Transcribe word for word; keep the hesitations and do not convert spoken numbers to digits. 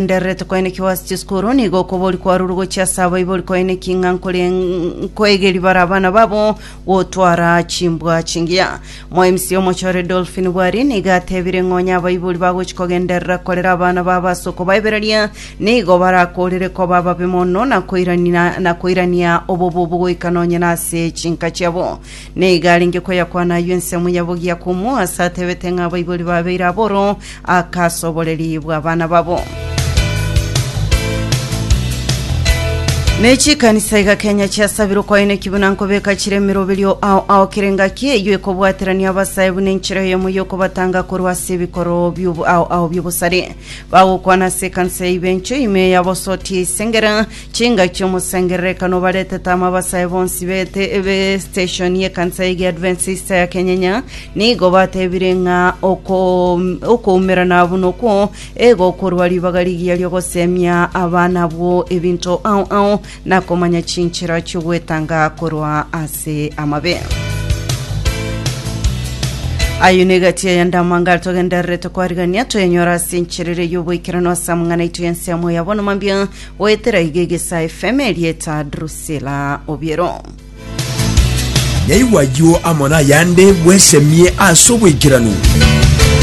Ndererete koenekiwa ase chisukuru nigo okobori kwarure gochia ase abaibori koeneki ng'a nkore nkoegeri bare abana babo gotwara chimbwa chingiya. Mo M C omochore Dolphin Bwari nigo atebire ng'onya abaibori bagochi kogenderera korera abana babo ase okobaebereria nigo barakorere koba ababe mono na koirania na koirania obobe goika nonye na ase chinka chiabo. Nigo arenge koyakwana aywo ensemo yabo giakumu ase atebete ng'a abaibori babeire aboro akasoboreri bwa abana babo. Nechikanisa iga Kenya chiasabirwe koeneki buna nkobeka chire emeroberio ao ao kere ngaki eywo ekobwaterania abasae buna enchera eyemo yokobatanga korwa ase ebikoro biobo- ao ao biobosare bagokwana ase ekanisa ya Ibencho ime yabosoti esengera chingaki omosengererekano baretete ama abasae bonsi bete be station y'ekanisa ya Adventista ya Kenyenya nigo batebire ng'a oko okoumerana buna okwo egokorwa ribaga rigiya riogosemia abana bwo ebinto ao ao na komanya chinchera chiogwetanga korwa ase amabe. Ayo negati ayandamanga togendererete kwarigania twenyora ase encherere y'oboikerano ase amang'ana aitu y'ensemo ya bono mambia goetera iga Egesa F M. Erieta Drusila Obiero. Nyaigwa ayio amo nayande bwesemie ase oboikeranu.